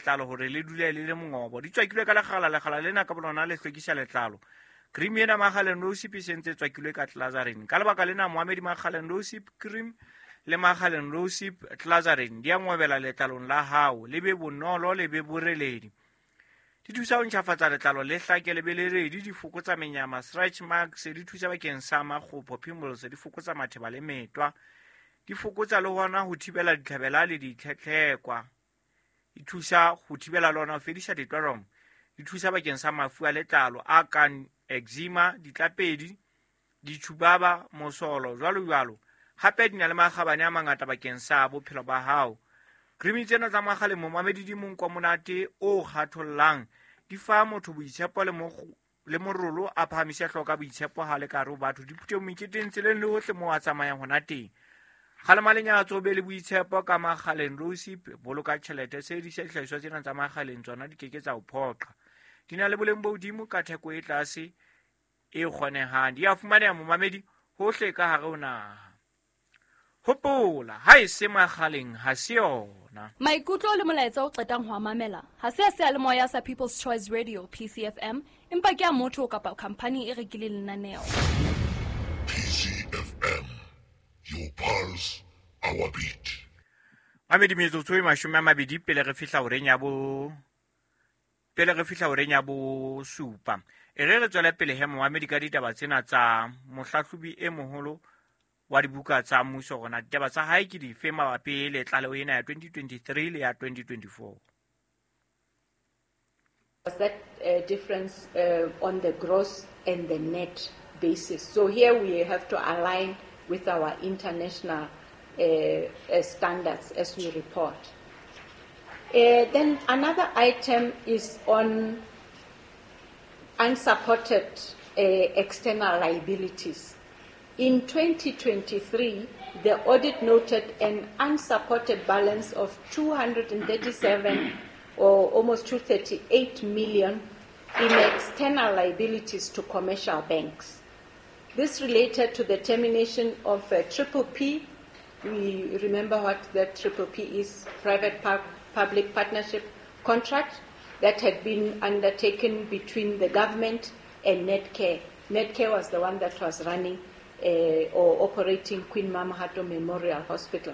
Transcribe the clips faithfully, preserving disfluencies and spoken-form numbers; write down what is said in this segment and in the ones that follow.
letlalo hore le dule le le mongobo. Di tswakilwe ka lekgala, lekgala lena ka bolona le hlwekisa letlalo. Cream ena Makgaleng Rosip e sentse tswakilwe ka Glycerin. Ka lebaka lena moamedi Makgaleng Rosip cream le Makgaleng Rosip Glycerin di a ngwebela letlalong la hao, le be bonolo le be boreledi. Di thusa ho ntjhafatsa letlalo le hlake le be le redi, di fokotsa menyama, stretch marks, di thusa bakeng sa makgopo, pimples, di fokotsa matheba le metwa, di fokotsa le hona ho thibela ditlhabela le ditlhetlhekwa, di thusa ho thibela le hona ho fedisa ditwarom, di thusa bakeng sa mafu a letlalo a kang eczema, ditlapedi, ditjhubaba, mosolo, jwalo jwalo. Hape di na le makgabane a mangata bakeng sa bophelo ba hao. Cream tsena tsa Makgaleng momamedi di monko monate o kgathollang, di fa motho boitshepo le le morolo a phahamise hloka boitshepo ha le ka re batho di phuthe meketeng tseleng le hohle moo a tsamayang hona teng. Kgalema lenyatso be le boitshepo ka Makgaleng Rosip, boloka tjhelete, sebedisa dihlahiswa tsena tsa Makgaleng, tsona di keke tsa o phoqa. Di na le boleng bo hodimo ka theko e tlase e kgonehang. Di a fumaneha momamedi hohle ka hare ho naha. Hopola, ha e se Makgaleng ha se yona. Maikutlo le molaetsa o qetang ho mamela ha se a seyalemoya sa People's Choice Radio P C F M, empa ke a motho kapa khampani e rekileng lenaneo. P C F M, your pulse, our beat. Mamedi metsotso e mashome a mabedi pele re fihla horeng ya bo pele re fihla horeng ya bo supa. E re re tswele pele he momamedi ka ditaba tsena tsa mohlahlobi e moholo wa dibuka tsa mmuso, rona ditaba tsa hae ke dife mabapi le tlaleho ena ya twenty twenty-three le ya twenty twenty-four. Was that uh, difference uh, on the gross and the net basis? So here we have to align with our international uh, uh, standards as we report. Uh, then another item is on unsupported uh, external liabilities. In twenty twenty-three, the audit noted an unsupported balance of two hundred thirty-seven or almost two hundred thirty-eight million in external liabilities to commercial banks. This related to the termination of a triple P. We remember what the triple P is, private public partnership contract that had been undertaken between the government and Netcare. Netcare was the one that was running Uh, or operating Queen Mamahato Memorial Hospital.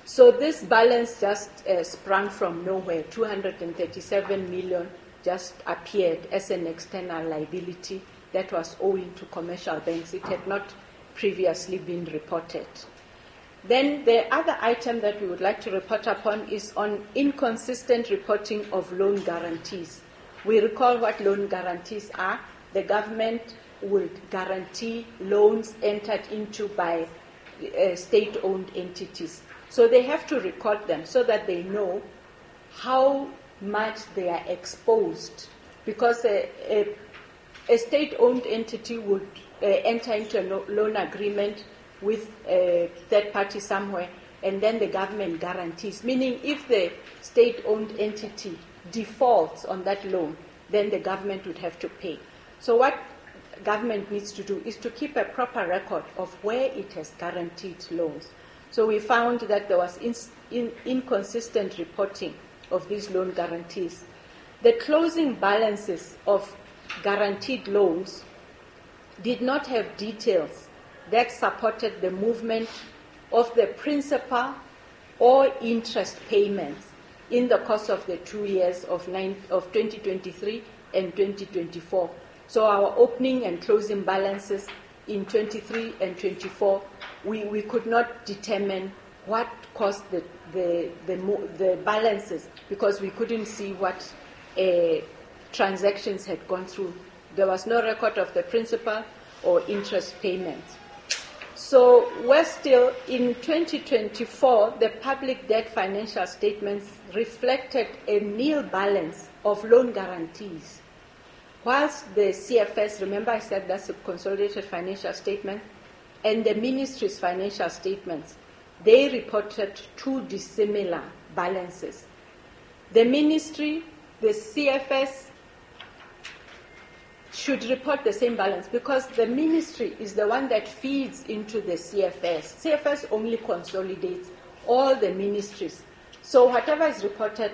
So this balance just uh, sprang from nowhere. two hundred thirty-seven million just appeared as an external liability that was owing to commercial banks. It had not previously been reported. Then the other item that we would like to report upon is on inconsistent reporting of loan guarantees. We recall what loan guarantees are. The government would guarantee loans entered into by uh, state-owned entities. So they have to record them so that they know how much they are exposed, because a, a, a state-owned entity would uh, enter into a lo- loan agreement with a third party somewhere, and then the government guarantees, meaning if the state-owned entity defaults on that loan, then the government would have to pay. So what government needs to do is to keep a proper record of where it has guaranteed loans. So we found that there was in, in, inconsistent reporting of these loan guarantees. The closing balances of guaranteed loans did not have details that supported the movement of the principal or interest payments in the course of the two years of, nine, of twenty twenty-three and twenty twenty-four. So our opening and closing balances in twenty-three and twenty-four, we, we could not determine what caused the, the, the, the balances, because we couldn't see what uh, transactions had gone through. There was no record of the principal or interest payments. So we're still, in twenty twenty-four, the public debt financial statements reflected a nil balance of loan guarantees. Whilst the C F S, remember I said that's a consolidated financial statement, and the ministry's financial statements, they reported two dissimilar balances. The ministry, the C F S, should report the same balance, because the ministry is the one that feeds into the C F S. C F S only consolidates all the ministries. So whatever is reported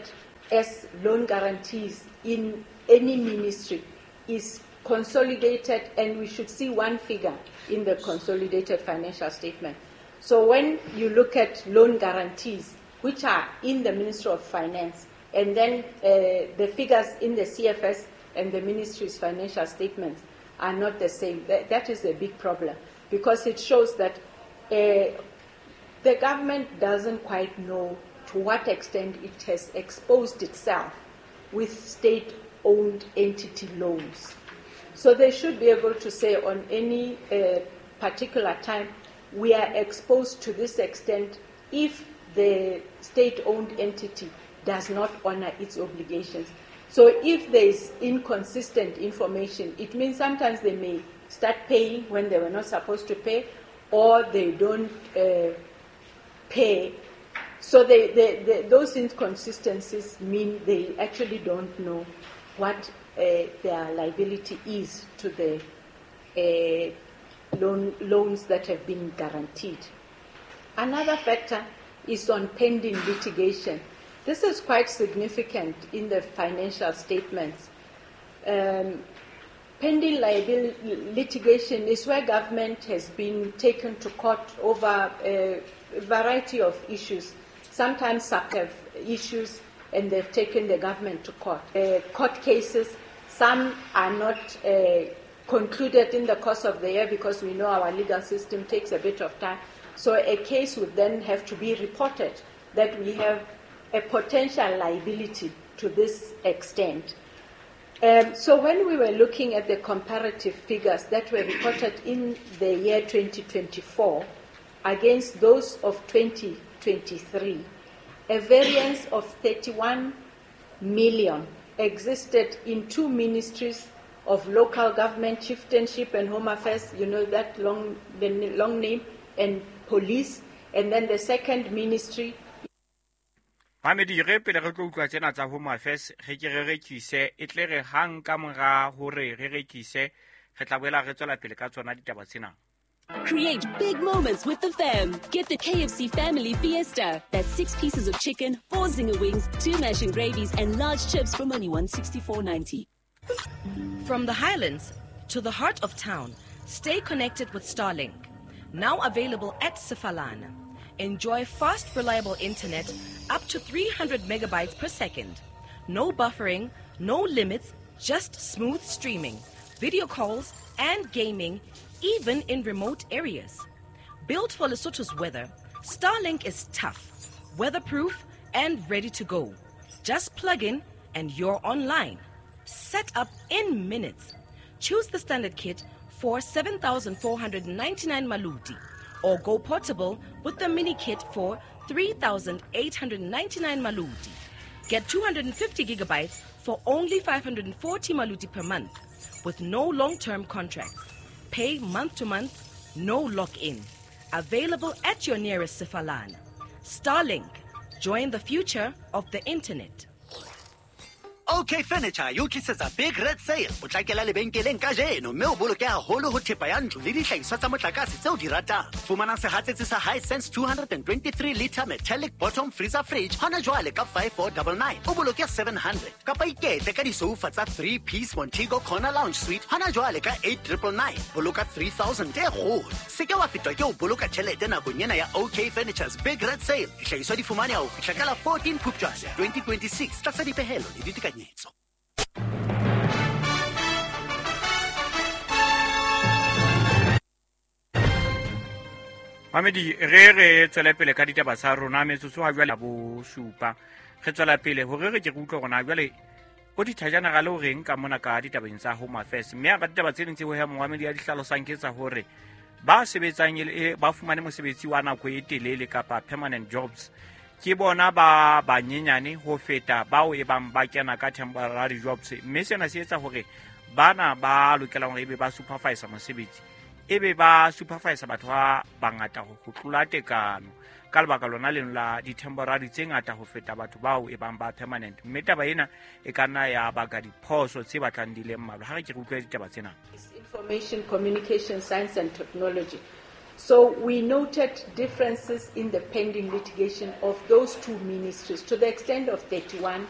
as loan guarantees in any ministry is consolidated, and we should see one figure in the consolidated financial statement. So when you look at loan guarantees, which are in the Ministry of Finance, and then uh, the figures in the C F S and the ministry's financial statements are not the same. That, that is a big problem, because it shows that uh, the government doesn't quite know to what extent it has exposed itself with state-owned entity loans. So they should be able to say on any uh, particular time, we are exposed to this extent if the state-owned entity does not honor its obligations. So if there is inconsistent information, it means sometimes they may start paying when they were not supposed to pay, or they don't uh, pay. So they, they, they, those inconsistencies mean they actually don't know what uh, their liability is to the uh, loan, loans that have been guaranteed. Another factor is on pending litigation. This is quite significant in the financial statements. Um, pending liability litigation is where government has been taken to court over a variety of issues. Sometimes some have issues and they've taken the government to court. Uh, court cases, some are not uh, concluded in the course of the year because we know our legal system takes a bit of time. So a case would then have to be reported that we have a potential liability to this extent. Um, so when we were looking at the comparative figures that were reported in the year twenty twenty-four against those of twenty twenty-three, a variance of thirty-one million existed in two ministries of local government, chieftainship and home affairs, you know that long, the long name, and police, and then the second ministry. Mamedi re pele re tlo utlwa tsena tsa Home Affairs re ke re rekise e tle re hang ka mora hore re rekise re tla boela re tswela pele ka tsona ditaba tsena. Create big moments with the fam. Get the K F C Family Fiesta. That's six pieces of chicken, four zinger wings, two mash and gravies, and large chips from only one sixty-four ninety. From the Highlands to the heart of town, stay connected with Starlink. Now available at Sefalana. Enjoy fast, reliable internet up to three hundred megabytes per second. No buffering, no limits, just smooth streaming, video calls, and gaming, even in remote areas. Built for Lesotho's weather, Starlink is tough, weatherproof, and ready to go. Just plug in and you're online. Set up in minutes. Choose the standard kit for seven thousand four hundred ninety-nine maluti, or go portable with the mini kit for three thousand eight hundred ninety-nine maluti. Get two hundred fifty gigabytes for only five hundred forty maluti per month, with no long-term contracts. Pay month to month, no lock-in. Available at your nearest Sefalana. Starlink, join the future of the internet. OK Furniture yo tlisetsa Big Red Sale. Potlakela lebenkeleng kajeno mme o boloke haholo ho thepa ya ntlo le dihlahiswa tsa motlakase tseo di ratang. Fumana sehatsetsi sa Hisense two twenty-three liter metallic bottom freezer fridge hona jwale ka five four nine nine. O boloke seven hundred. Kapa iketle ka disoufa tsa three piece Montego Corner Lounge Suite hona jwale ka eight nine nine. Boloka three thousand e kgolo. Se ke wa fetwa ke ho boloka tjhelete nakong ena ya OK Furniture's Big Red Sale. Dihlahiswa di fumaneha ho fihla ka la fourteen Phupjane twenty twenty-six tlasa dipehelo le ditekanyetso. Mamedi re re tswele pele ka ditaba tsa rona metsotso ha jwale bo supa re tswela pele hore re ke re utlwe rona jwale o dithajanagale o reng ka mona ka ditabeng tsa Home Affairs mme a ditaba tse ding tse ho ya Mohamedi ya dihlalosang ke tsa hore ba sebetsang e ba fumane mosebetsi wa nako e telele kapa permanent jobs ke bona ba banyenyane ho feta bao e bang ba kena ka temporary jobs mme sena se etsa hore bana ba lokelang hore ebe ba supervisor mosebetsi ebe ba supervisor batho ba bangata ho tlola tekano ka lebaka lona leno la di-temporary tse ngata ho feta batho bao e bang ba permanent mme taba ena e ka nna ya baka diphoso tse batlang di le mmalwa. Ha re ke re utlwe ditaba tsena. Information, Communication, Science and Technology. So we noted differences in the pending litigation of those two ministries to the extent of thirty-one